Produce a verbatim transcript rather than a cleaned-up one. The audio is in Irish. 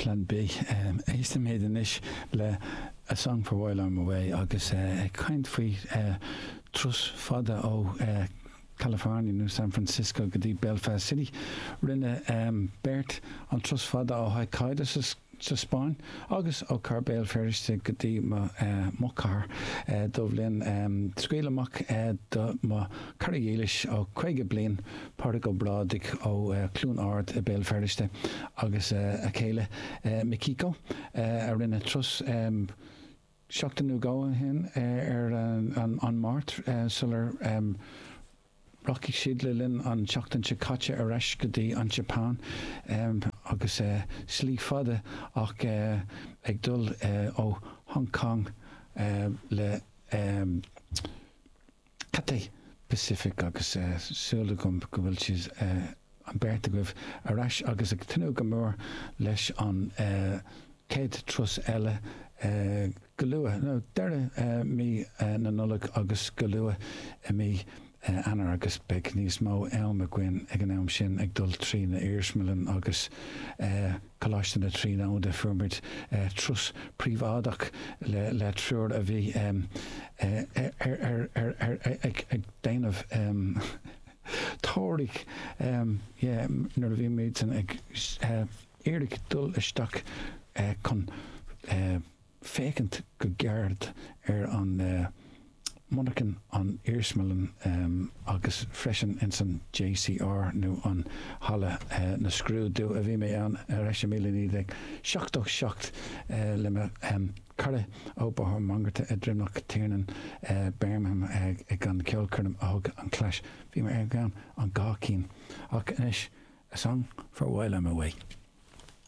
Plean B. Éistfimid anois le A Song for While I'm Away agus ag caint faoi turas fada ó California nó San Francisco go dtí Belfast City. Rinne beirt an turas fada ó Hokkaido sa Spáinn agus ó Chathair Béal Feirste go dtí mo chathair Dubhlinn. Scaoil amach do mo chara dhílis ó caoga bliain, Pádraig Ó Brádaigh ó Cluain Ard i Béal Feirste agus a chéile Mikiko a rinne turas seachtain nó dhó ó shin ar an Máirt sular rachaidh siad le linn an tseachtain seo caite ar ais go dtí an tSeapáin agus slí fada ach ag dul ó Hong Kong le Cathay Pacific agus súil agam go bhfuil siad an beirt agaibh ar ais agus ag tnúth go mór leis an chéad turas eile go luath, nó deireadh mí na Nollag agus go luath i mí Eanáir agus beidh níos mó am againn ag an am sin ag dul trí na iarsmalann agus Coláiste na Tríonóide. Fuair muid turas príobháideach le le triúr a bhí ar ar ar ag déanamh tóraigh yeah nuair a bhí muid ag iarraidh dul isteach chun féachaint go gairid ar an monarchan an iarsmalann agus freisin ins an JCR nó an halla na scrúdú a bhí mé ann ar ais i míle naoi déag seachtó seacht le mo chara ó Bóthar Mangarta i Droimneach Tiernan Birmingham ag an ceolchoirm a thug an Clash. Bhí mé ar an dhá cinn ach anois A Song for While I'm Away.